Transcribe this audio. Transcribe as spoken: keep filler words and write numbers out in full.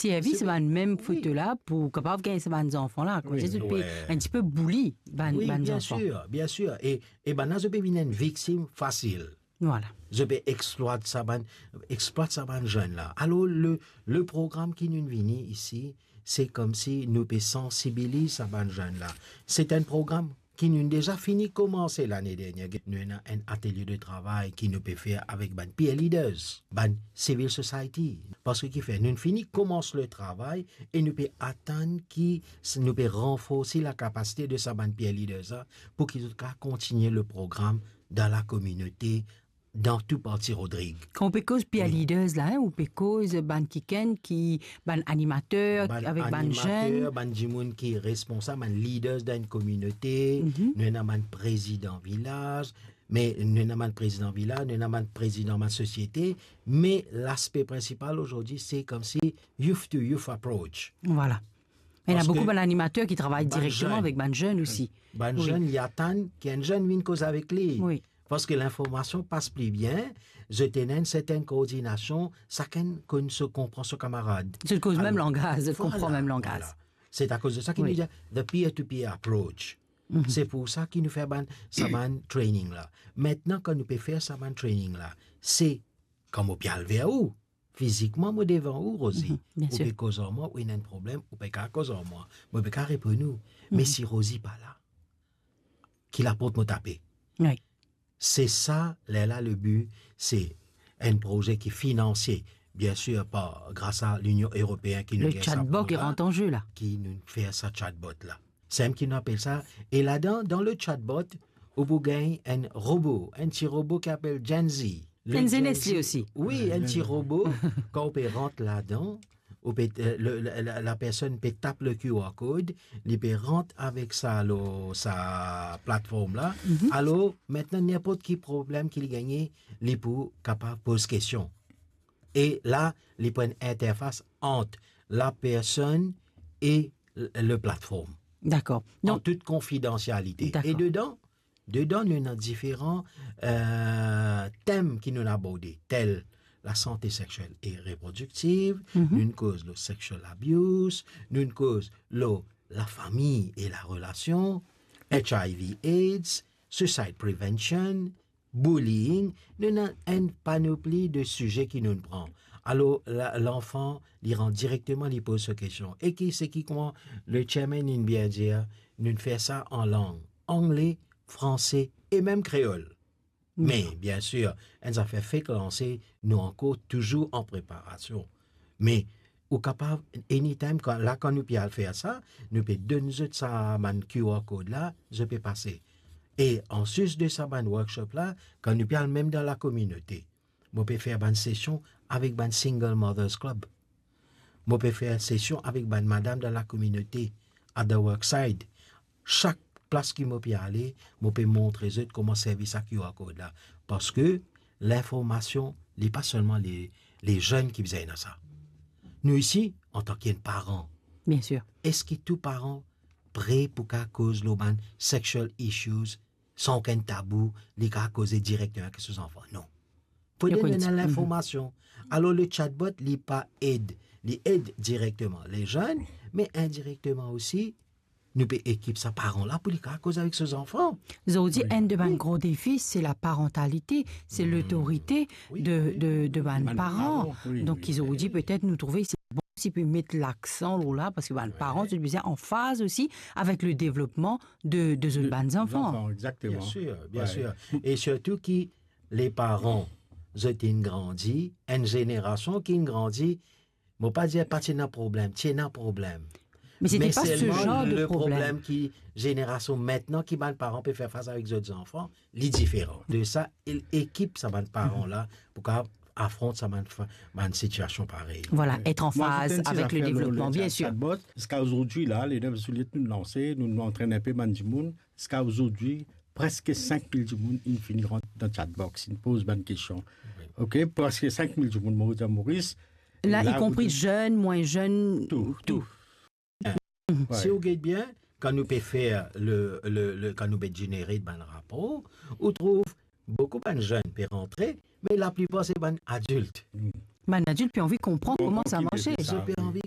servi sa bann mem foto la pou kapav gagn sa bann zanfan la. Koumsa zot pe enn tipe bouli bann, bann zanfan. Wi, bien sir, bien sir. E, e bann la, zot pe vinn enn viktim fasil. Vwala. Zot pe explwat sa bann, explwat sa bann zenn la. Alor, le, le program ki nou vini isi, se koumsi nou pe sansibiliz sa bann zenn la. Se enn program ki nou deza fini koumanse lane dernie. Nou ena enn atelie de travay ki nou pe fer avek bann peer leaders, bann civil society. Parski kifer, nou fini koumans le travay e nou pe atann ki s-, nou pe ranforsi lakapasite de sa bann peer leaders la pou ki zot kapav kontigne le program dan lakominote, dan tou parti Rodrig. Kan ou pe koz peer leaders la, hein, ou pe koz bann kikenn ki, bann animater, avek bann zenn. Bann animater, bann dimoun ki responsab, bann leaders dan enn kominote, nou ena bann prezidan vilaz, me nou ena bann prezidan vilaz, nou ena bann prezidan bann sosiete, me laspe prinsipal azordi, se koumsi youth to youth approach. Vwala. Ena boukou bann animater ki travay direkteman avek bann zenn osi. Bann zenn, li atann ki enn zenn vinn koz avek li. Wi. Parski linformasion pas pli bien, zot ena enn sertenn koordinasion, sakenn konn so, konpran so kamarad. Zot koz mem langaz, zot konpran mem langaz. Vwala. Se akoz de sa ki nou dir the peer-to-peer approach. Se pou sa ki nou fer bann, sa bann training la. Aster, kan nou pe fer sa bann training la, se kan mo pe al ver ou, fizikman, mo devan ou, Rosie. Ou pe koz ar mwa, ou ena enn problem, ou pe kapav koz ar mwa. Mo pe kapav reponn ou. Me si Rosie pa la, ki laport mo tape? Wi. Se sa, lerla le bi, se enn proze ki finanse, bien sir, par, gras a Linion Eropeen ki nou gagn sa program, ki nou fer sa chatbot la. Sa mem ki nou apel sa. E ladan, dan le chatbot, ou pou gagn enn robo, enn ti robo ki apel Gen Z. Enn zenes li osi. Wi, enn ti robo, kan ou pe rant ladan, ou pe, eh, le, le, la, lapersonn pe tap le Q R code, li pe rant avek sa lor sa platform la. Alor, aster, ninport ki problem ki li gagne, li pou kapav poz kestion. E la, li pou enn interfas ant lapersonn e le, le platform. Dakor. An tou konfidansialite. Dakor. E dedan, dedan, nou ena diferan, eh, tem ki nou aborde, tel lasante sexiel e reprodiktiv, nou koz lor sexual abuse, nou koz lor lafami e larelasion, H I V AIDS, suicide prevention, bullying, nou ena enn panopli de size ki nou pran. Alor, la, lanfan, li rant direkteman, li poz so kestion. E ki, se ki kouma le chairman inn bien dir, nou fer sa an lang, angle, franse e mem kreol. Me, bien sir, enn zafer fek lanse, nou ankor touzour an preparasion. Me, ou kapav, anytime, kan, la, kan nou pe al fer sa, nou pe donn zot sa bann Q R code la, zot pe pase. E anplis de sa bann workshop la, kan nou pe al mem dan lakominote, mo pe fer bann sesion avek bann Single Mothers Club. Mo pe fer sesion avek bann madam dan lakominote, at the worksite. Sak plas ki mo pe ale, mo pe montre zot kouma servi sa Q R code la. Parski linformasion, li pa selman le, le zenn ki bizin ena sa. Nou isi, antan ki enn paran, bien sir, eski tou paran pre pou kapav koz lor bann sexual issues san okenn tabou, li kapav koze direkteman avek so zanfan? Non. Fode nou ena linformasion. Alor, le chatbot, li pa ed, li ed direkteman le zenn, me indirekteman osi, nou pe ekip sa paran la pou li kapav koz avek so zanfan. Zordi, enn de bann gro defi, se laparantalite, se lotorite de, de, de bann paran. Donk, zordi, petet nou trouve se bon si pe met laksan lor la, parski bann paran, zot bizin an faz osi avek le devlopman de, de zot bann zanfan. Zanfan, egzakteman. Bien sir, bien sir. E sirtou ki le paran, zot inn grandi, enn zenerasion ki inn grandi, mo pa dir pa ti ena problem, ti ena problem. Me se pa se selman zar de problem. Me problem ki zenerasion aster ki bann paran pe fer fas avek zot zanfan, li diferan. De sa, e-, ekip sa bann paran la pou kapav afront sa bann fa-, bann sitiasion parey. Vwala, et an faz avek le devlopman, bien sir. Mo ti ena enn ti zafer lor le chat-, chatbot. Ziska zordi la, le nev zilye nou lanse, nou, nou antrenn inpe bann dimoun. Ziska zordi, preske sink mil dimoun inn fini rant dan chatbox, inn poz bann kestion. Wi. Ok, preske sink mil dimoun, mo dir Moris. La, la, ikonpri zenn, mwin zenn, tou, tou. Tou. Si ou get bien, kan nou pe fer le, le, le, kan nou pe generate bann rapor, ou trouv boukou bann zenn pe rantre, me laplipar se bann adilt. Bann adilt pe anvi konpran kouma sa marse. Zot pe anvi